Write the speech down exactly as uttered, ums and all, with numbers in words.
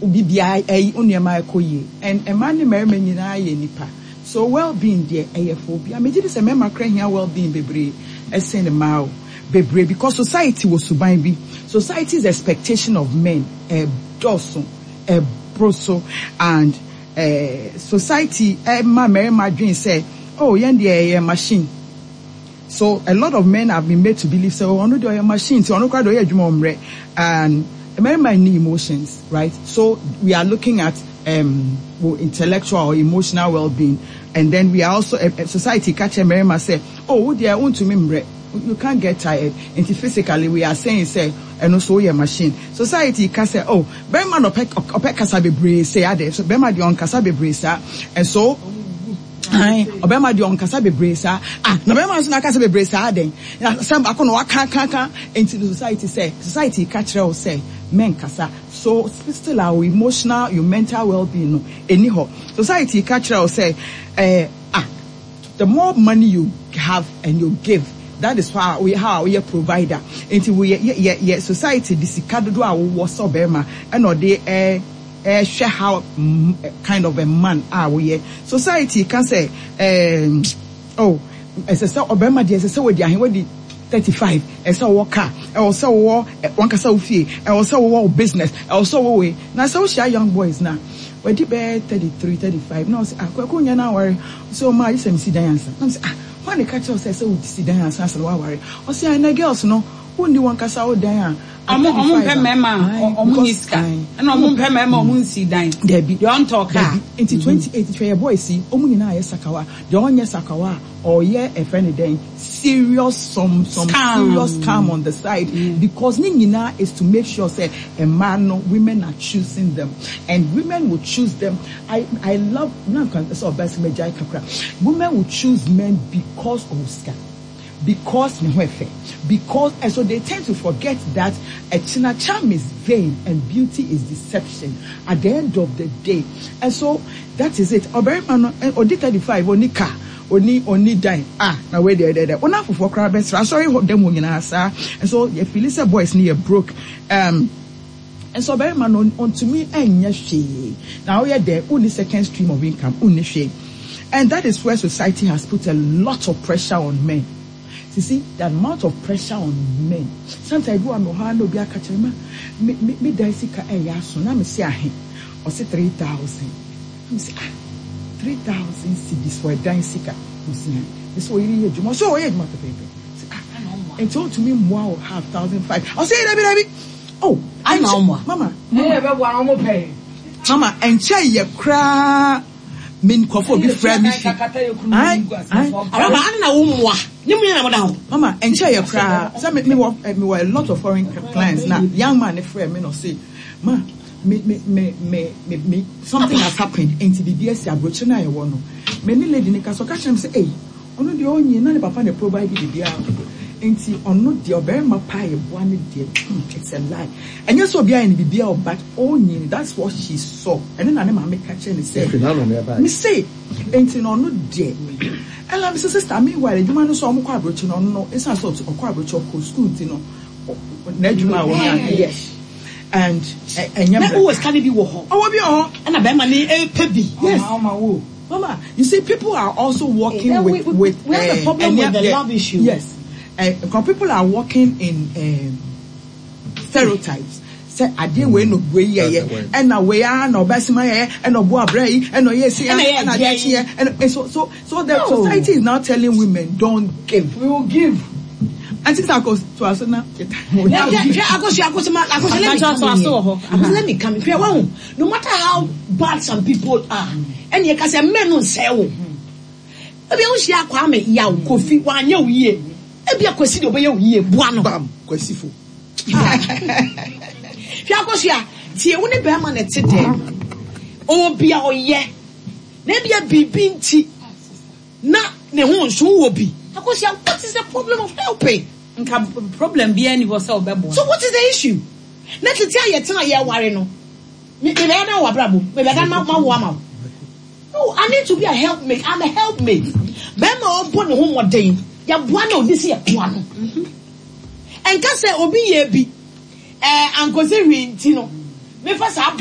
Obi biara ɛyi wo nneɛma ɛkɔ yie, and mmaa ne mmarima nyinaa yɛ nipa, so well-being deɛ, ɛyɛ for obiara. Megye di sɛ mmarima kora hia well-being bebree ɛsen mmaa o, bebree, because society wɔ suban bi, society's expectation of men ɛdɔɔso, ɛboro so, and eh, society ɛma mmarima dwen sɛ, oh, yɛn deɛ, ɛyɛ machine. So a lot of men have been made to believe sɛ, oh, ɔno deɛ, ɔyɛ machine, nti ɔno koraa deɛ, ɔyɛ adwuma, ɔmmerɛ, and mmarima nni emotions, right? So we are looking at um, well, intellectual or emotional well-being, and then we are also uh, society ka kyerɛ mmarima sɛ, oh, wo deɛ, wontumi mmerɛ, you can't get tired, nti physically we are saying sɛ ɛno so woyɛ machine. Society ka sɛ, oh, barima na ɔpɛ ɔpɛ kasa bebree sɛ ade so, barima deɛ, ɔnkasa bebree saa, and so ɔbɛrima deɛ, ɔnkasa bebree saa. Ah, na bɛrima nso n'akasa bebree saa den na sɛm baako na waka ka ka. Nti the society sɛ, society ka kyerɛ wo sɛ mɛnkasa. So still our emotional, your mental well-being no ɛni hɔ. Society ka kyerɛ wo sɛ ɛɛ ah, the more money you have and you give, that is how we how we are provider. Nti we yɛ yɛ yɛ society de sika dodo a wowɔ sɛ ɔbɛrima ɛna ɔde ɛɛ ɛhwɛ how mm, kind of a man a woyɛ. Society ka sɛ, ɛɛ oh, ɛsɛ sɛ ɔbɛrima deɛ, ɛsɛ sɛ wɔdi ahe, wɔdi thirty five, ɛsɛ wɔwɔ car, ɛwɔ sɛ wɔwɔ wankasa wo fie, ɛwɔ sɛ wɔwɔ wo business, ɛwɔ sɛ wɔwɔ wei. Na sɛ wohyia young boys na wɔdi bɛyɛ thirty three, thirty five, na ɔsɛ, ah, Kwaku, nyɛ na aware sɛ ɔmo ayi sɛ mesi dan ansa, na mo sɛ, ah, wɔn ne ka kyerɛw sɛ sɛ wosi dan ansa sɛ wɔaware? Ɔsɛ, ah, na girls no, wonni wɔn kasa wo dan a. Ɔmo ɔmo mpɛ mmarima a ɔmo nyi sika, ɛna ɔmo mpɛ mmarima a ɔmo nsi dan. Dabi. Deɛ ɔntɔ kaa. Nti twenty eight, hwɛ yɛ boys yi, ɔmo nyinaa yɛ sakawa. Deɛ ɔnyɛ sakawa a, ɔyɛ ɛfɛ ne dɛn, serious some some scam. Serious scam on the side mm. because ne nyinaa is to make sure sɛ mmaa no, women are choosing them, and women will choose them. i i love na nkan sɛ ɔbɛn sɛ mɛgya kakra. Women will choose men because of sika, because ne ho ɛfɛ, because, and so they tend to forget that ɛkyina charm is vain and beauty is deception at the end of the day. And so that is it. Ɔbɛrima no, ɔdi thirty five, oni car, oni oni dan, ah, na wei deɛ deɛ deɛ ɔna afoforɔ koraa bɛsra asɔre hɔ dɛm wɔ nyinaa saa. And so yɛ feel sɛ boys ni yɛ broke um, nso ɔbɛrima no, ɔntumi ɛnyɛ hwee na ɔyɛ dɛ ɔnni second stream of income, ɔnni hwee, and that is where society has put a lot of pressure on men. You see the amount of pressure on men. Sometimes ebi wa mi hɔ a, na obi aka kyerɛ ma me me me dan sika ɛyɛ aso, na me si ahe? Ɔsi three thousand. Na me si, ah, three thousand cedis for ɛdan sika? Mo si ha me sɛ ɔyere yɛ adwuma, ɔsɛ ɔyɛ adwuma pɛpɛɛpɛ. Si, ah, nti ɔntumi mmoa o, half, thousand five? Ɔsɛ yɛ dabi dabi oh. Ana ɔmoa? Mama. Ɛyɛ bɛ bɔ ɔmo pɛ. Mama, ɛnkyɛn yɛ koraa, me nkɔfo obi frɛ me fi ayi ayi. Araba ana na wo mmoa ne mu nyɛ na mo da hɔ. Mama, ɛnkyɛn yɛ koraa sɛ me me wɔ eh, me wɔ a lot of foreign clients, na young man ne frɛ me na ɔse, ma me me me me me me something has happened, nti biribi asi aburokyire na yɛwɔ no. Me ne lady ne ka so, ɔka kyerɛ me sɛ, ɛyi, ɔno deɛ, ɔnyi na ne papa na provide biribiara, nti ɔno deɛ, ɔbarima paa yɛ boa ne deɛ, hmm it's a lie. Ɛnyɛ sɛ obi ayɛ ne biribiara o, but ɔnyi, that's what she saw. Ɛne na ne maame ka kyerɛ ne sɛ Ɛfiri n'ano na ɛbaeɛ. Me se nti na ɔno deɛ, ɛna me sɛ, sister, meanwhile adwuma no so ɔmo kɔ aburokyi no, ɔno no, esan sɛ ɔte- ɔkɔ aburokyi, ɔkɔ school, nti no ɔ- n'adwuma a wɔnya, yes, and ɛ- ɛnyɛ Na mmerɛ. wowɔ sika no bi wɔ hɔ? Ɔwɔ bi wɔ hɔ. Ɛna bɛrima ne ɛpɛ bi. Yes. Ɔma wo. Mama, you see, people are also working Then with we- we- with we have a uh, problem and with the yeah, love issue. Yes, uh, because people are working in um, stereotypes. Sɛ adeɛ wei no, wei yɛ yɛ, ɛna wei ara na ɔbɛsima yɛ, ɛna ɔbo abrɛ yi, ɛna ɔyɛ esi, ɛna yɛ ɛna adeɛ adeɛ yi. kyeɛ, ɛna and so so so the No. society is now telling women, don't give. We will give. Aunty Sako to aso na. Hwɛ, Akosua, Akosua, ma Akosua, let me Akakyɛ come in so here. wɔ hɔ. Akosua, let me come in. Hwɛ, wahu, no matter how bad some people are, ɛna yɛ ka sɛ mɛ no nsɛɛ wo. Ebi ahohyia Kwame Yaw Kofi wanyɛ wo yie. Ebi akwasi de ɔbɛyɛ wo yie, boa no. Bam kwasifo. Hwɛ, Akosua, tie, wo ne bɛrima na ɛte dɛm. Ɔwɔ bi a ɔyɛ. Na ebi a biribi nti na ne ho nso wɔ bi. Akosua, what is the problem of helping? Nka problem biara ni hɔ sɛ ɔbɛboa. So what is the issue? Na tete a yɛtena yɛware no, me me bɛyɛ dɛ wɔ abrabɔ mu, me bɛyɛ dɛ ma ma wo ama wo. No, I need to be a helpmate. I'm a helpmate. Bɛrima a ɔbɔ ne ho mmɔden, yɛboa na odi si yɛboa no. Ɛnka sɛ obi yɛ bi, ɛɛ ankosi hwee nti no, mefa saa.